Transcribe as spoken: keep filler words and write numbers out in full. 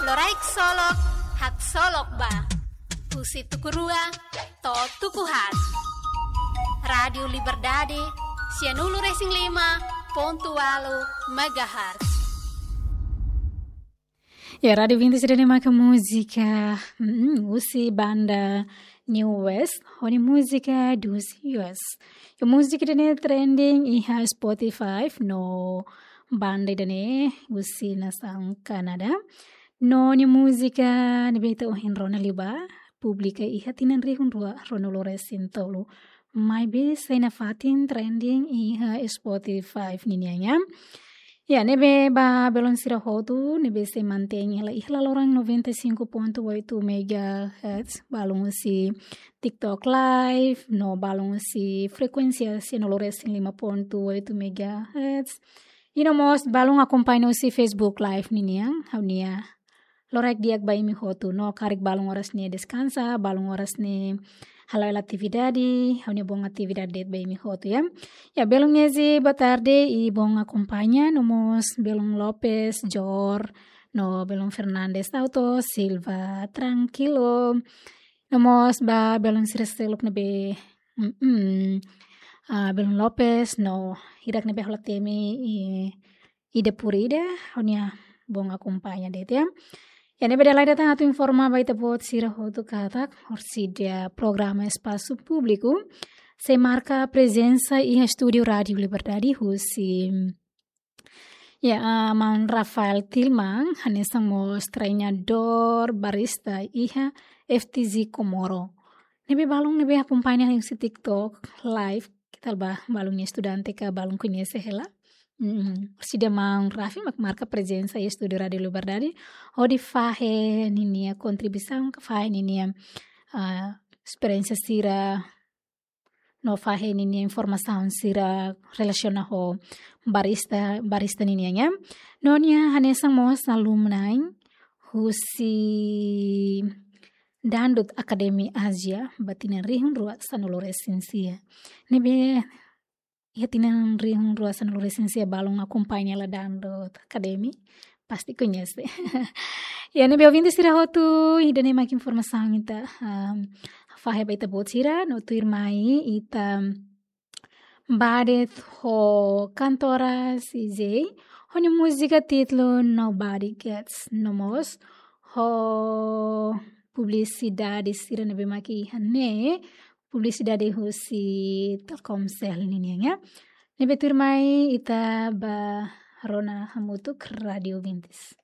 Loraik Solok, Haksolok Ba. Husi tuku rua to'o tuku haat. Rádiu Liberdade, sianulu-resin-lima pontu ualu megahertz. Ya, Rádiu Vintes ida-ne'e maka múzika, mm, husi banda New West, ho nia múzika Dos Us. Ya, múzika ida-ne'e trending iha Spotify, no banda ida-ne'e husi nasaun Kanadá. No nia múzika ne'ebé ita ohin rona liubá, publika iha tinan rihun rua ruanulu-resin-tolu. Maibé sai nafatin trending iha Spotify ninian. Ya, ne'ebé ba belun sira hotu, ne'ebé sei mantein hela iha laloran noventa e cinco ponto oito megahertz, balun husi TikTok Live, no balun husi frekuénsia sianulu-resin-lima pontu oito megahertz. I no mós balun akompaña husi Facebook Live ninian, ha'u-nia loraik di'ak ba imi hotu, no karik balun oras ne'e deskansa, balun oras ne'e hala'o hela atividade, ha'u-nia boon atividade de'it ba imi hotu, ya. Ya, belun Ezi, boa tarde, i boon akompaña, no mós belun Lopes, Jor, no belun Fernandes Auto, Silva, tranquilo. No mós ba belun sira seluk ne'ebé, mm, mm, ah, belun Lopes, no hirak ne'ebé hola temi, i, ida por ida, ha'u-nia boon akompaña de'it, ya. Ya, ne'ebé dala ida tan atu informa ba ita-boot sira hotu katak, orsida programa Espasu Públiku sei marka prezensa iha estúdiu Rádiu Liberdade husi, ya, ah, maun Rafael Tilman, hanesan mós treinadór barista iha F T Z Comoro. Ne'ebé balun ne'ebé akompaña husi TikTok Live, keta ba balun nia estudante ka balun koñese hela. Mm, orsida maun Rafi mak marka prezensa iha estúdiu Rádiu Liberdade, hodi fahe ninia kontribuisaun, ka fahe ninia, ah, esperiénsia sira, no fahe ninia informasaun sira relasiona ho barista, barista ninian, ya. No nia hanesan mós alumni husi Dangdut Academy Asia, ba tinan rihun rua sanulu-resin-sia. Ne'ebé iha tinan rihun rua sanulu-resin-sia balun akompaña hela Dangdut Academy, pasti koñese. Ya, ne'ebé ouvinte sira hotu, ida-ne'e mak informasaun ita, um, fahe ba ita-boot sira, no tuirmai ita bá de'it ho kantora C J, ho nia múzika títulu Nobody Gets, no mós ho publisidade sira ne'ebé mak iha ne'e, publisidade husi Telkomcel ninian, ya. Ne'ebé tuirmai ita bá rona hamutuk Rádiu Vintes.